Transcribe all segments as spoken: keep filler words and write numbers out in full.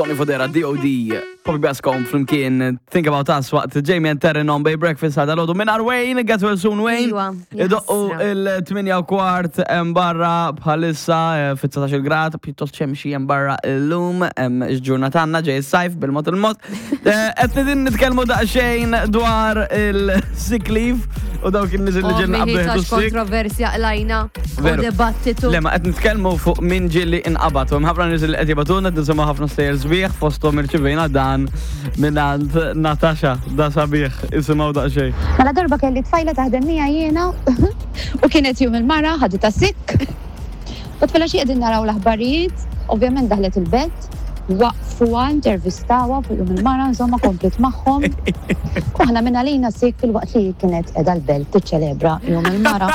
Sonny Fodera, D O D. Poppy Bascom flimkien Think About Us waqt Jamie and Terren on Bay Breakfast għada l minn Wayne, get well soon, Wayne. Iwa, Idoqqu jaħasra. il-tmienja u kwart hemm barra bħalissa eh, fit-dsatax-il grad, pjuttost xemxi hemm barra illum, hemm ġurnata għandna ġej is-sajf bil-mod il-mod. Eh, qed nidin nitkellmu daqsxejn dwar il-sick leave u dawk in-nies li ġenna Ommi qabel tax sick. Kontroversja qlajna u Veru. dibattitu. Le, ma qed nitkellmu fuq min ġieli inqabad. U hemm ħafna nies li qed jibagħtulna, qed nisimgħu ħafna stejjer sbieħ, fosthom irċivejna dan mingħand Natasha, da sabiħ, isimgħu daqsxejn. Mela darba kelli tfajla taħdem miegħi jiena u kienet jum il-mara, ħaditha sick. U tfajla xi qegħdin naraw l-aħbarijiet, ovvjament daħlet il-belt, waqfuha, intervistawha fuq jum il-mara, insomma komplet magħhom. U aħna minn għalina sick fil-waqt li kienet qiegħda l-belt tiċċelebra jum il-mara.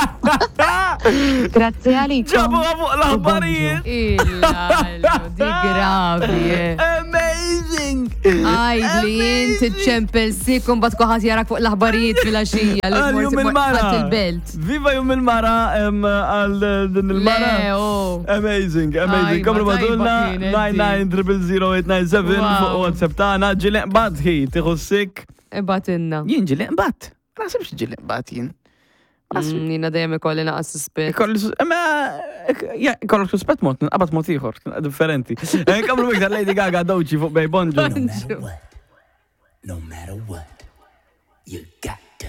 Grazzi għalikom. Ġabuha fuq l-aħbarijiet! Illallu, di gravi, eh. Amazing! Għajd li jint iċċempel sick u mbagħad kulħadd jarak fuq l-aħbarijiet fil-għaxija li Għal jum il-mara. Ħadd il-belt. Viva jum il-mara em, għal din il-mara. Le, oh. Amazing, amazing. Ajma, Komplu tajba ibagħtulna kienet di. nine nine zero zero eight nine seven Wow. fuq WhatsApp tagħna. Ġieli nqbadt hi tieħu sick. Ibagħtilna. Jien ġieli nqbadt. Ma naħsibx ġieli nqbadt jien. Ma naħsibx. Mm, Jiena dejjem ikolli naqas suspett. Ikolli sus- Ma, ja, ikollok suspett mod, nqabad mod ieħor, differenti. Eh, Komplu iktar Lady Gaga, Doechii fuq Bay. Bonġu. No matter what, no matter what, you got